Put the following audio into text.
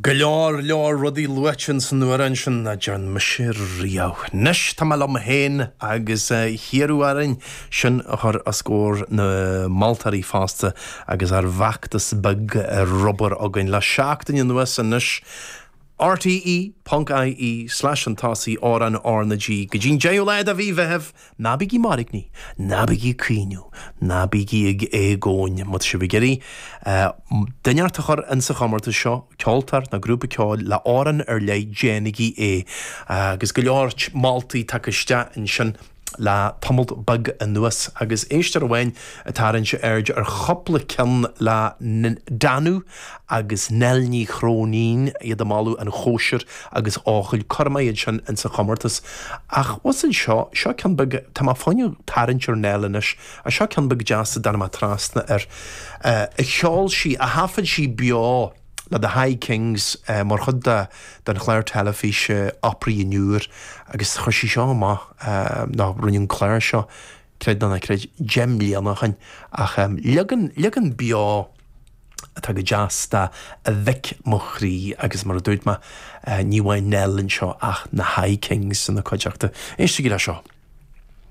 Go leor leor rudaí luaite ins an amhrán sin nach dtearn mise riamh. Anois tá mé liom féin agus hiarradh orainn sin a chur os comhair na moltóirí fosta agus ár bhfeachtas beag ar obair againn le seachtain anuas anois. RTÉ ponc IE slash chun tosaigh amhrán R na G go dtí'n 10ú lá de mhí Mheithimh Ná bígí mairgní, ná bígí ag caoineadh, ná bígí ag éagóin má tá sibh ag iarraidh duine inteacht a chur insa chomórtas seo, ceoltóir nó grúpa ceoil le amhrán ar leith, déanaigí é. Agus go leor moltaí tagtha isteach ansin le tamall beag anuas agus éisteoir amháin ag tarraingt aird ar chúpla ceann le Danú agus Nell Ní Chróinín, iad ag moladh An Chóisir agus Eochaill, cuirfidh mé iad sin insa chomórtas. Ach bhus anseo, seo ceann beag, tá mé fá choinne tarraingt ar Nell anois, ach seo ceann beag deas a dtáinig mé trasna air, a cheol sí, a thaifead sí beo le The High Kings mar chuid de den chlár teilifíse Opry Anoir agus chuir sí seo amach, nó rinne an clár seo, creid nó ná creid, 10 mbliana ó shin, ach leagan, leagan beo atá go deas de A Mhic Mo Chroí agus mar a dúirt mé, ní amháin Nell anseo ach na High Kings ina cuideachta. Éistigí le seo.